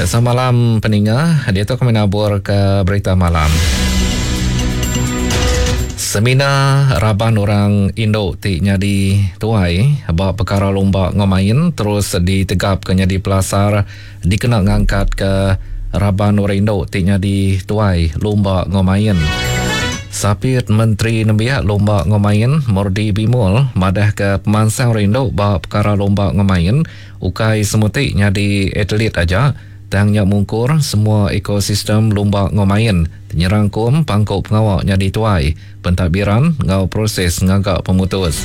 Samalam peninga, diatu kami nabur ke berita malam. Semina raban orang indu ti nyadi tuai ba pekara lumba enggau main terus ditegapka nyadi pelasar dikena ngangkatka raban orang indu ti nyadi tuai lumba enggau main. Sapit Menteri Nembiak Lumba enggau Main Mordi Bimol madahka pemansang orang indu ba pekara lumba enggau main ukai semuti nyadi atlet aja tang nya mungkur semua ekosistem lumba enggau main nyerangkum pangku pengawa nyadi tuai, pentadbiran enggau proses ngaga pemutus.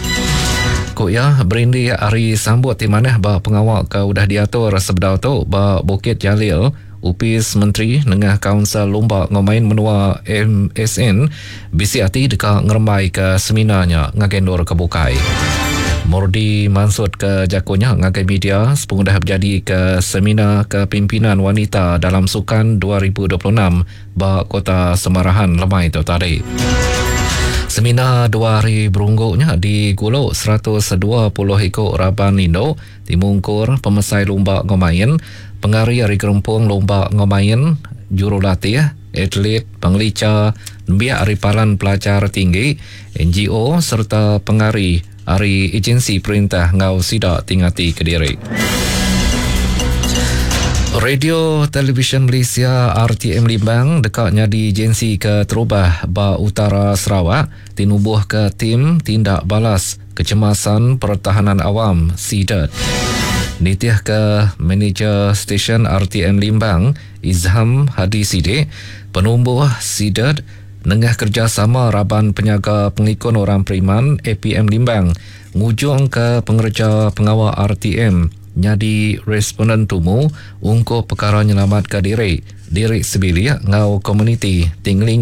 Ku iya, berindik ari sambut ti manah ba pengawa ke udah diatur sebedau tu ba Bukit Jalil, Opis Menteri nengah Kaunsil Lumba enggau Main Menua, MSN, bisi ati deka ngerembaika seminar nya ngagai endur ke bukai. Mordi mansutka jaku nya ngagai media sepengudah bejadika Seminar Kepimpinan Wanita Dalam Sukan 2026 ba Kota Samarahan lemai tu tadi. Seminar dua hari berunggu nya digulu 120 iku raban indu ti mungkur pemesai lumba enggau main, pengari ari gerempung lumba enggau main, jurulatih, atlet, pengelicha, nembiak ari palan pelajar tinggi, NGO sereta pengari ari ejensi perintah enggau sida ti ngati kediri. Radio Televisyen Malaysia RTM Limbang deka nyadi ejensi keterubah ba utara Sarawak ti numbuhka Tim Tindak Balas Kecemasan Pertahanan Awam, CDERT. Nitihka Manager Stesen RTM Limbang, Izham Hadi Sidik, penumbuh CDERT Nengah kerejasama Raban Penyaga Pengelikun Orang Periman, APM Limbang, ngujungka pengereja pengawa RTM nyadi responden tumu ungkup pekara nyelamatka diri, diri sebilik enggau komuniti ti ngelingi.